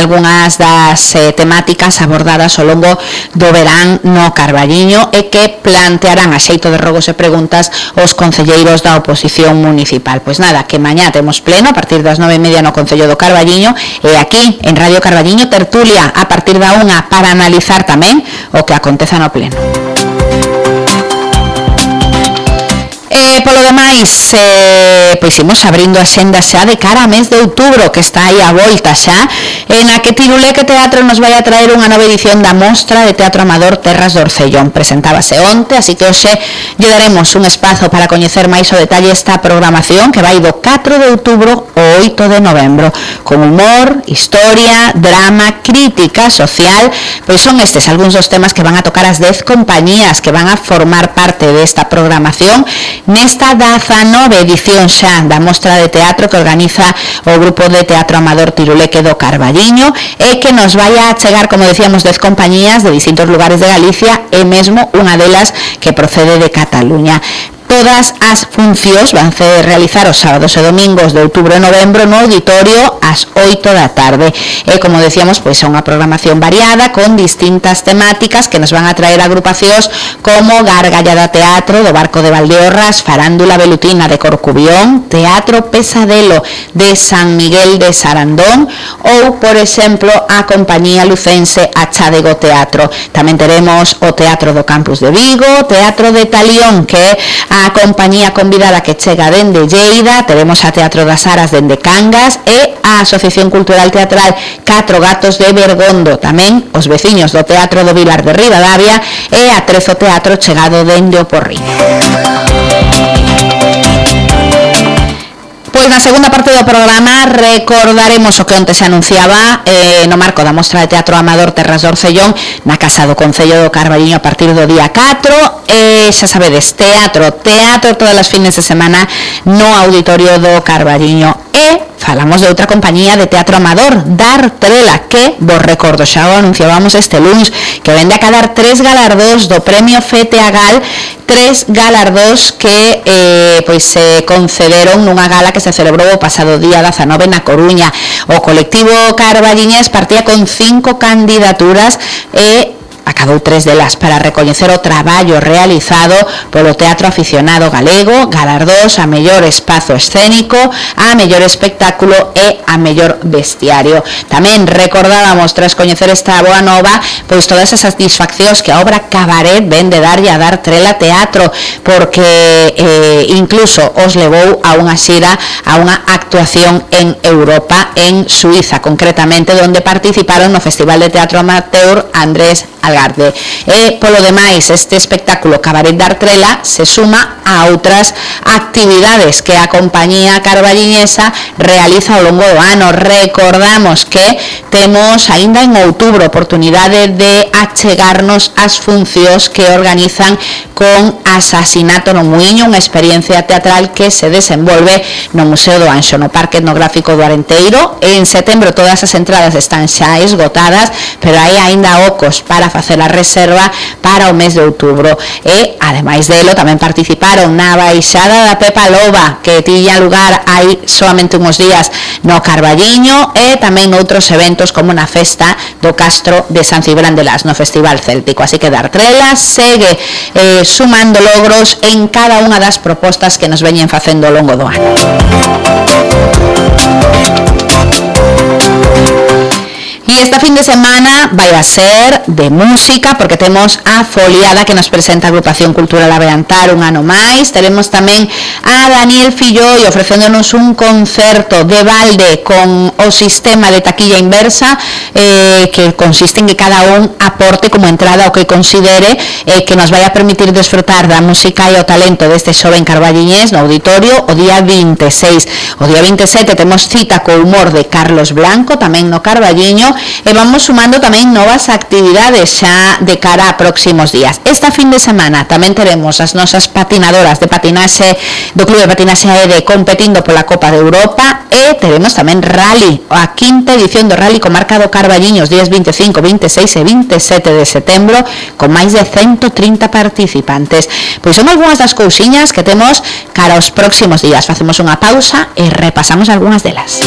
algunhas das temáticas abordadas ao longo do verán no Carballiño e que plantearán a xeito de rogos e preguntas os concelleiros da oposición municipal. Pois nada, que mañá temos pleno a partir das 9:30 no Concello do Carballiño e aquí en Radio Carballiño tertulia a partir da 1 para analizar tamén o que aconteza no pleno. Polo demais, pois imos abrindo a xenda xa de cara a mes de outubro, que está aí a volta xa, na que Tiruleque Teatro nos vai a traer unha nova edición da Mostra de Teatro Amador Terras do Orcellón. Presentábase onte, así que hoxe lle daremos un espazo para coñecer máis o detalle esta programación que vai do 4 de outubro ao 8 de novembro, con humor, historia, drama, crítica social. Pois son estes algúns dos temas que van a tocar as 10 compañías que van a formar parte desta programación nesta 19ª edición xa da Mostra de Teatro que organiza o Grupo de Teatro Amador Tiruleque do Carballiño e que nos vai a chegar, como decíamos, 10 compañías de distintos lugares de Galicia e mesmo unha delas que procede de Cataluña. Todas as funcións van a realizar os sábados e domingos de outubro e novembro no auditorio ás 8 da tarde. E, como decíamos, pois é unha programación variada con distintas temáticas que nos van a traer agrupacións como Gargallada Teatro do Barco de Valdeorras, Farándula Velutina de Corcubión, Teatro Pesadelo de San Miguel de Sarandón ou, por exemplo, a compañía lucense Achadego Teatro. Tamén teremos o Teatro do Campus de Vigo, Teatro de Talión, que é a compañía convidada que chega dende Lleida, teremos a Teatro das Aras dende Cangas e a Asociación Cultural Teatral Catro Gatos de Bergondo, tamén os veciños do Teatro do Vilar de Ribadavia e a Trezo Teatro chegado dende o Porriño. Pois na segunda parte do programa recordaremos o que onte se anunciaba no marco da Mostra de Teatro Amador Terras do Orcellón na Casa do Concello do Carballiño a partir do día 4 e xa sabedes, teatro todas as fines de semana no auditorio do Carballiño e falamos de outra compañía de teatro amador, Dar Trela, que, vos recordo, xa o anunciábamos este lunes, que vende a cadar 3 galardóns do Premio FETEAGAL, 3 galardóns que pois se concederon nunha gala que se celebrou o pasado día 19 na Coruña. O colectivo carballiñés partía con 5 candidaturas e acadou 3 delas para recoñecer o traballo realizado polo teatro aficionado galego, galardóns a mellor espazo escénico, a mellor espectáculo e a mellor vestiario. Tamén recordábamos, tras coñecer esta boa nova, pois todas as satisfaccións que a obra Cabaret vende darlle a Dar Trela Teatro, porque incluso os levou a unha xira, a unha actuación en Europa, en Suiza concretamente, onde participaron no Festival de Teatro Amateur Andrés Algarde. E polo demais, este espectáculo Cabaret Dar Trela se suma a outras actividades que a compañía carballiñesa realiza ao longo do ano. Recordamos que temos aínda en outubro oportunidade de achegarnos as funcións que organizan con Asasinato no Muiño, unha experiencia teatral que se desenvolve no Museo do Anxo, no Parque Etnográfico do Arenteiro. En setembro todas as entradas están xa esgotadas, pero hai aínda ocos para facer a reserva para o mes de outubro. E, ademais delo, tamén participaron na baixada da Pepa Loba, que tiña lugar hai solamente uns días no Carballiño, e tamén outros eventos como na festa do Castro de San Cibrán de Las, no Festival Céltico. Así que Dar Trela segue sumando logros en cada unha das propostas que nos veñen facendo ao longo do ano. E esta fin de semana vai a ser de música, porque temos a Foliada que nos presenta a Agrupación Cultural Aveantar un ano máis. Teremos tamén a Daniel Filloi ofrecéndonos un concerto de balde con o sistema de taquilla inversa, que consiste en que cada un aporte como entrada o que considere, que nos vai a permitir desfrutar da música e o talento deste xoven carballiñés no auditorio o día 26. O día 27 temos cita co humor de Carlos Blanco, tamén no Carballiño, e vamos sumando tamén novas actividades xa de cara a próximos días. Esta fin de semana tamén teremos as nosas patinadoras de patinaxe do Club de Patinaxe AED competindo pola Copa de Europa, e teremos tamén rally, a quinta edición do rally comarca do Carballiño os días 25, 26 e 27 de setembro, con máis de 130 participantes. Pois son algunhas das cousiñas que temos cara aos próximos días. Facemos unha pausa e repasamos algunhas delas.